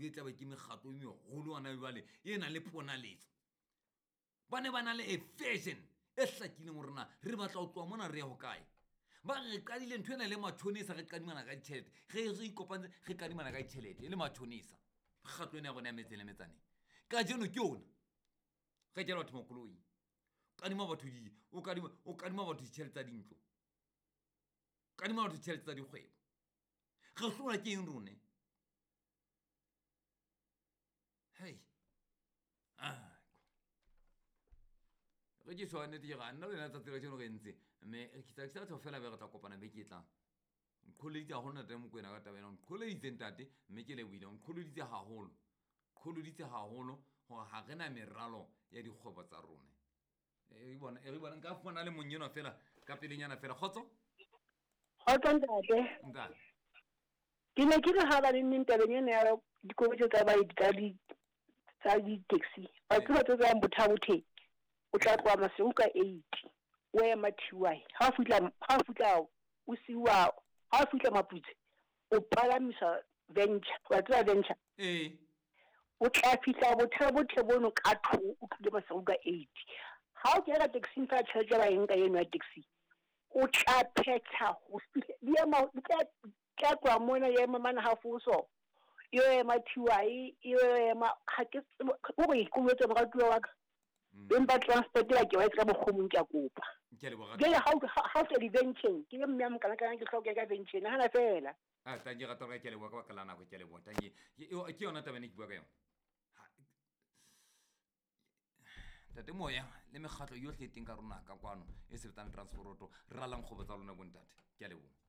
E tlabe ke mekgatlo e megolo gona jale e nang le ponaletso. Ba ne ba na le a vision e hlakileng gore na re batla go tloa mona re ya go kae. Ba re qadile ntho ena le matšhonisa, re kadimana ka ditšhelete, ge re ikopantse re kadimana ka ditšhelete e le matšhonisa. Mekgatlo ena ya rona ya metseng le metsaneng kajeno ke yona re jela batho makoloi, kadima batho di o kadima, o kadima batho ditšhelete tsa dintlo, kadima batho ditšhelete tsa dikgwebo. Re hlola ke eng rone? Hei, re ke tshwanetse ke ga nna le wena tsatsi la kajeno re ntse, mme ke tla tsho fela be re tla kopana beke e tlang. Nqholoditse haholo ntate Mokoena ka taba ena, nqholoditse ntate, mme ke lebohile, nqholoditse haholo, nqholoditse haholo hore ha re na meralo ya dikgwebo tsa rona. E re bona, e re bona, nka fumana le mong enwa fela ka pelenyana fela. Kgotso? Kgotso ntate. Ntate. Ke ne ke re ha ba neng tabeng ena ya dikoloi tsa baeti tsa di tsa di-taxi, wa tseba tse tswang Botha-Bothe, o tla tloha Maseru ka 8, o ema TY. Ha o fihla, ha o fihla o siwa, ha o fihla Maputse, o palamisa Venture, wa tseba Venture? Ee. O tla fihla Botha-Bothe bono ka 2, o tlile Maseru ka 8. Ha o kena ka taxi fela tjhelete ba e nka eno ya taxi, o tla phetha ho fihla, di ema, di tla, tla tloha mona ya ema mane ha Foso, e yo ema TY, e yo ema, ha ke tsebe, o re ke o etse moratuwa wa ka. Beng ba transport ba ke ba etsa ka mokgwa o mong, ke a kopa. Ke a leboha. Jwale ha o, ha o fihla di-venture-eng, ke le mme a mokanakana ke hloka ka venture, nahana fela. Ah, tanki rata hore ke a leboha ka baka la nako, ke a leboha. Tanki, ke yona taba ene ke bua ka yona. Ha, Ntate Moya le mekgatlo yohle e teng ka rona ka kwano e sebetsang le transporoto, ralang kgwebo tsa lona bontate. Ke a leboha.